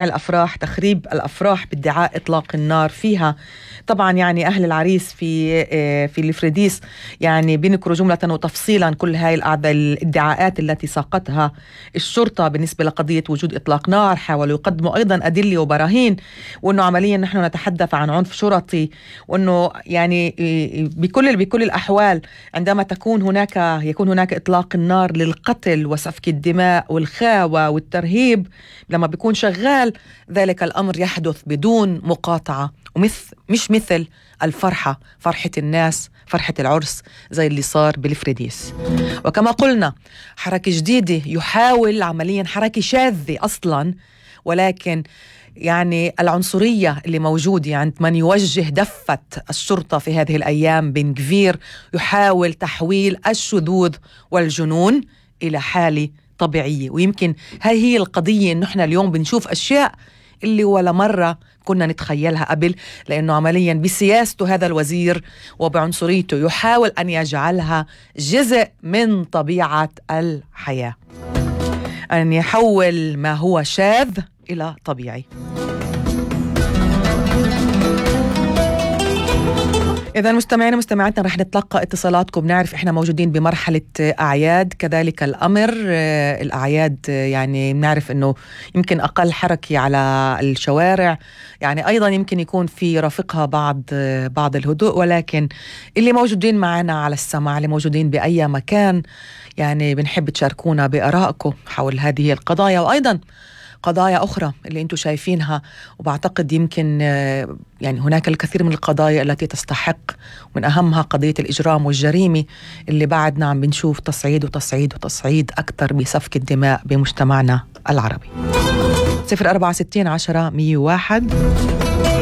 الأفراح، تخريب الأفراح بادعاء إطلاق النار فيها. طبعا يعني أهل العريس في الفريديس يعني بينكروا جملة وتفصيلا كل هاي الادعاءات التي ساقتها الشرطة بالنسبة لقضية وجود إطلاق نار. حاولوا يقدموا أيضا أدلة وبراهين، وأنه عمليا نحن نتحدث عن عنف شرطي، وأنه يعني بكل الأحوال عندما يكون هناك إطلاق النار للقتل وسفك الدماء والخاوة والترهيب، لما بيكون شغال ذلك الأمر يحدث بدون مقاطعة، مش مثل الفرحة، فرحة الناس، فرحة العرس زي اللي صار بالفريديس. وكما قلنا حركة جديدة يحاول عمليا، حركة شاذة أصلا، ولكن يعني العنصرية اللي موجودة عند من يوجه دفة الشرطة في هذه الأيام بن غفير يحاول تحويل الشذوذ والجنون إلى حالة طبيعية. ويمكن هاي هي القضية، إنه إحنا اليوم بنشوف أشياء اللي ولا مرة كنا نتخيلها قبل، لأنه عمليا بسياسته هذا الوزير وبعنصريته يحاول أن يجعلها جزء من طبيعة الحياة، أن يحول ما هو شاذ إلى طبيعي. إذا مستمعاتنا رح نتلقى اتصالاتكم. نعرف إحنا موجودين بمرحلة أعياد، كذلك الأمر الأعياد يعني نعرف إنه يمكن أقل حركة على الشوارع، يعني أيضا يمكن يكون في رافقها بعض الهدوء، ولكن اللي موجودين معنا على السمع، اللي موجودين بأي مكان، يعني بنحب تشاركونا بآرائكم حول هذه القضايا وأيضا قضايا أخرى اللي أنتم شايفينها. وبعتقد يمكن يعني هناك الكثير من القضايا التي تستحق، ومن أهمها قضية الإجرام والجريمة اللي بعدنا عم بنشوف تصعيد أكثر بسفك الدماء بمجتمعنا العربي. 0460 10 101